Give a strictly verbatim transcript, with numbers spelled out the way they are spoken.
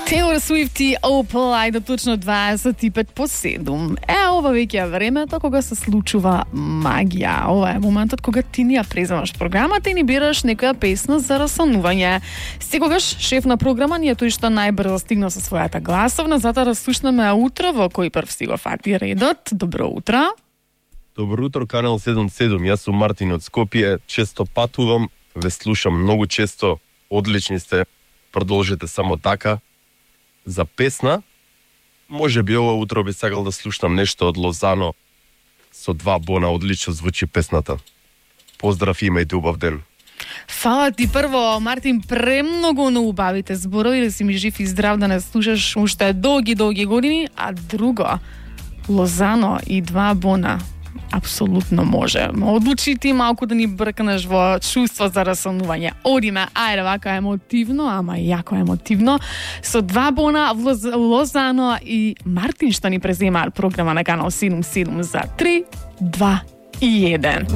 Taylor Swift и Opal, ајде точно дваесет и пет по седум. Е, ова веќе е времето кога се случува магија. Ова е моментот кога ти ни ја преземаш програмата и ни бираш некоја песна за расонување. Секогаш шеф на програма ни е тој што најбрзо стигна со својата гласовна, затоа да слушнеме утро во кој прв си го фати редот. Добро утро. Добро утро, Канал седум седум. Јас сум Мартин од Скопје. Често патувам, ве слушам многу често. Одлични сте. Продолжете само така. За песна, може би ова утро би сакал да слушнам нешто од Лозано со два бона. Одлично звучи песната. Поздрав, имајте убав ден. Фала ти прво, Мартин, премногу на убавите зборови, да си ми жив и здрав, да не слушаш уште долги, долги години, а друго, Лозано и два бона. Апсолутно може. Одлучи ти малку да ни бркнеш во чувство за расонување. Одиме, ајде вака емотивно, ама јако емотивно, со два бона в Лозано и Мартин што ни презема програма на Канал седум седум за три, два и еден.